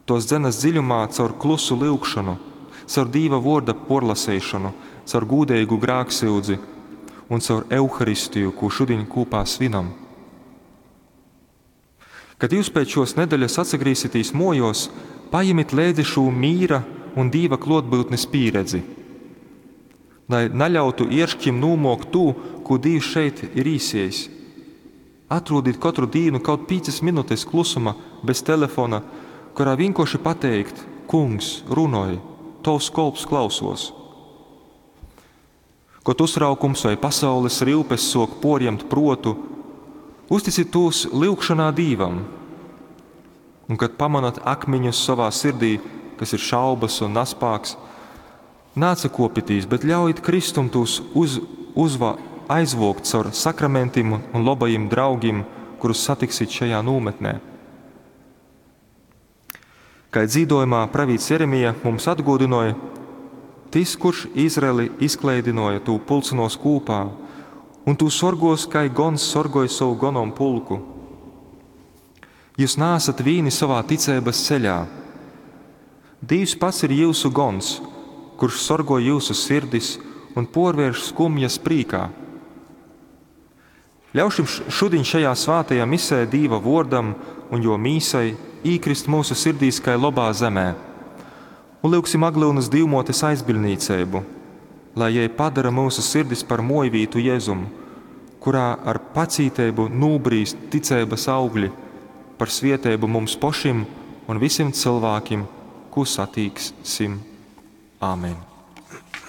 Tuos dzenas dziļumā caur klusu lyugšonu, caur Dīva vuorda puorlaseišonu, caur gūdeigu grāksyudzi un caur Euharistiju, kū šudiņ kūpā svinam. Kad jūs pēc šuos nedeļas atsagrīzsitīs muojuos, pajemit leidzi šū mīra un Dīva kluotbyutnis pīredzi. Lai naļautu ierškim nūmuokt tū, kū Dīvs šeit ir īsiejs. Atrūdit kotru dīnu kaut pīcas minutes klusuma bez telefona, kurā vienkārši pateikt: Kungs, runoj, tovs kolps klausuos. Kod uztraukums vai pasaules ryupes suok puorjemt pruotu, uzticit tūs lyugšonā Dīvam. Un kad pamonat akmiņus sovā sirdī, kas ir šaubas un naspāks, naatsakuopitīs, bet ļaujit Kristum tūs aizvuokt caur sakramentim un lobajim draugim, kurus satiksit šajā nūmetnē. Kai dzīdojumā pravīts Jeremija mums atguodynoj, tys, kurš Izraeli izkleidynuoja, tū pulcynuos kūpā, un tū sorguos, kai gons sorgoj sovu gonompulku. Jūs naesat vīni sovā ticeibas ceļā. Dīvs pats ir jyusu gons, kurš sorgoj jyusu sirdis un puorvērš skumjas prīkā. Ļaušim šudiņ šajā svātajā misē Dīva vuordam un juo mīsai īkrist myusu sirdīs kai lobā zemē. Un lyugsim Aglyunys Dīvmuotes aizbiļdnīceibu, lai jei padara myusu sirdis par muojvītu Jezum, kurā ar pacīteibu nūbrīst ticeibys augļi par svieteibu mums pošim un vysim cylvākim, kū satīksim. Āmen.